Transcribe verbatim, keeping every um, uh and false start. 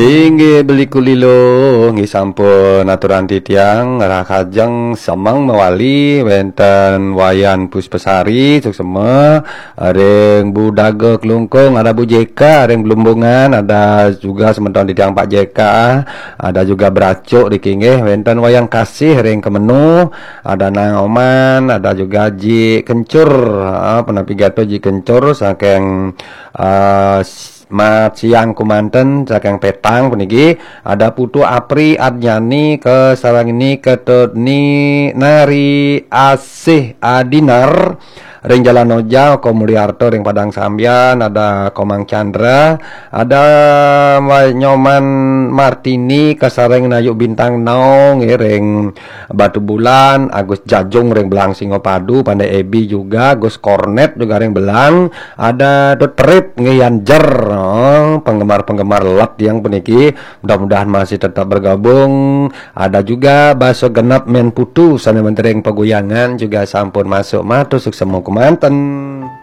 Inggih, Beli Kulilo, nggih sampun aturan titiang, rahajeng semeng mawali wenten Wayan Puspasari, suksema, ring Bu Daga Klungkung, ada Bu J K ring Belumbungan, ada juga semeton titiang Pak J K, ada juga Bracuk niki nggih, wenten Wayan Kasih ring Kemenu, ada Nang Oman, ada juga Ji Kencur, ha, punapi gatra Ji Kencur saking, eh, Mat siang kumanten saking Petang puniki, ada Putu Apri Adnyani kasarengin Ketut Ni Nari Asih Adinar ring Jalan Oja, Ko Mulyarta ring Padang Sambian, ada Komang Chandra, ada Mbak Nyoman Martini kasarengin Ayu Bintang Naung ring Batu Bulan, Agus Jajung ring Belang Singapadu, Pandai Ebi juga, Gus Kornet juga ring Belang, ada Dut Perit nggih Yan Jer, oh, penggemar-penggemar let yang puniki, mudah-mudahan masih tetap bergabung. Ada juga Baso Genep Men Putu sane wenten ring Paguyangan juga sampun masuk, matur suksema kumanten.